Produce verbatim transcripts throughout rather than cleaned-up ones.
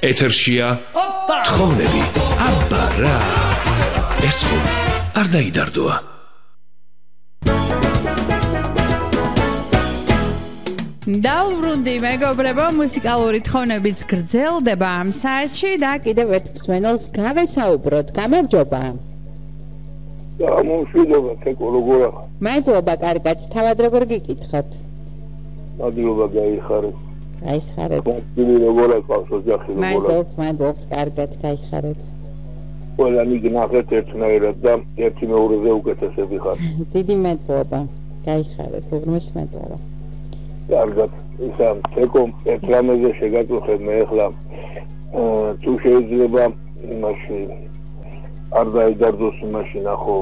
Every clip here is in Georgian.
ეთერშია თხოვნები. აბა რა. ეს ხო არ დაიდარდოა. დავბრუნდი მეგობრებო, მუსიკალური თხოვნებიც გრძელდება ამ საათში და კიდევ ერთ მსმენელს გავესაუბროთ. გამარჯობა. გამომშვიდობა, თეკო როგორ ახ? მადლობა, კარგად. თავად როგორ გიკითხოთ? მადლობა, გაიხარეთ. გაიხარეთ. მადლობა, როგორ აყავს ოჯახი როგორ? მადლობთ, მადლობთ, კარგად, გაიხარეთ. ყველანი გნახეთ ერთნაირად და ერთი მეორეზე უკეთესები ხარ. დიდი მადლობა. გაიხარეთ, უღრმეს მადლობა. კარგად, ისა თეკო ერთ რამეზე შეგაწუხებ მე ახლა თუ შეიძლება იმაში არ დაიდარდოს იმაში ნახო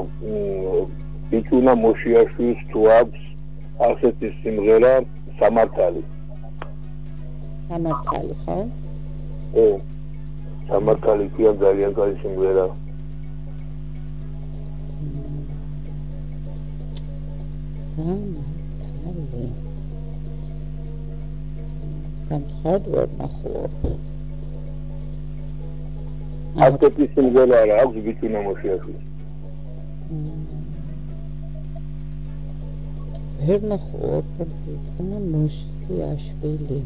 ბიჭუნა მოშიაშვილს თუ აქვს ასეთი სიმღერა სამართალი. სამართალი ხო? ო სამართალი კი ძალიან კაი სიმღერა. სამართალი სამწუხაროდ ვერ ნახულობ. ასეთი სიმღერა არა აქვს ბიჭუნა მოშიაშვილს. ვერ ნახულობ ბიჭუნა მოშიაშვილი.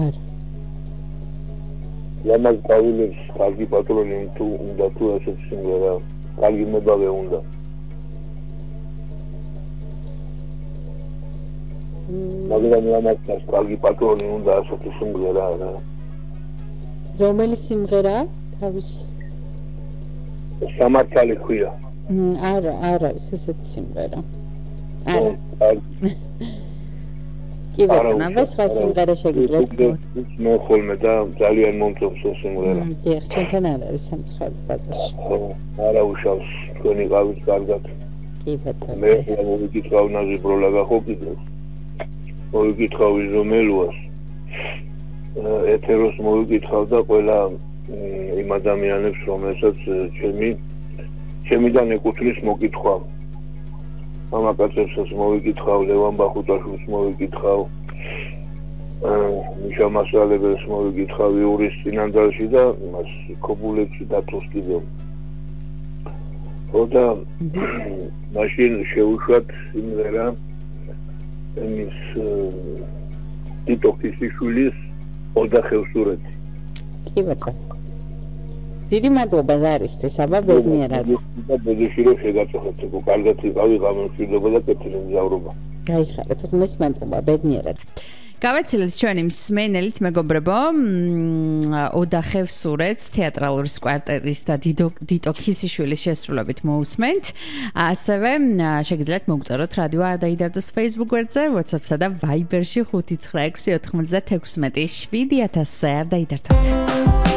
არა. ლამაზ გავილებს კარგი პატრონი თუ უნდა თუ ასეთი სიმღერა კარგი მებავე უნდა. მაგრამ ლამაზ კარგი პატრონი უნდა ასეთი სიმღერა არა. რომელი სიმღერა თავის სამართალი ქვია. არა, არა, ის ესეთი სიმღერა. არა. კი ბატონო, ეს სხვა სიმღერა შეგიძლიათ გქონოთ. მე ხოლმე და ძალიან მომწონს ეს სიმღერა. დიახ, ჩვენთან არ არის სამწუხაროდ ბაზარში. არა უშავს, თქვენი ყავით კარგად. კი ბატონო. მე მოვიკითხავ ნაზი ბროლაგა ხო კიდევ. მოვიკითხავ იზომელუას. ეთეროს მოვიკითხავ და ყველა იმ ადამიანებს, რომელსაც ჩემი ჩემიდან ეკუთვნის მოკითხვა. მამაკაცებსაც მოვიკითხავ, ლევან ბახუტაშვილს მოვიკითხავ, მიშა მასალებელს მოვიკითხავ იურის წინანდალში და იმას ქობულეთში დათოს კიდევ. ხოდა მაშინ შეუშვათ სიმღერა εμείς ტიტოქისიშვილის ოძახევსურეთი. კი ბატონო. დიდი მადლობა ზარისთვის, აბა ბედნიერად. და ბედეში რომ შეგაწუხეთ, თქო, კარგად იყავი გამომშვიდობა და კეთილი მგზავრობა. გაიხარეთ, უღმეს მადლობა, ბედნიერად. გავეცილეთ ჩვენი მსმენელით მეგობრებო, ოძახევსურეთს თეატრალური კვარტეტის და დიტო ქისიშვილის შესრულებით მოусმენთ. ასევე შეგიძლიათ მოგწეროთ რადიო არ დაიდარდოს Facebook გვერდზე, WhatsApp-სა და Viber-ში ხუთი ცხრა ექვსი ოთხმოცდაექვსი შვიდი ათასზე არ დაიდარდოთ.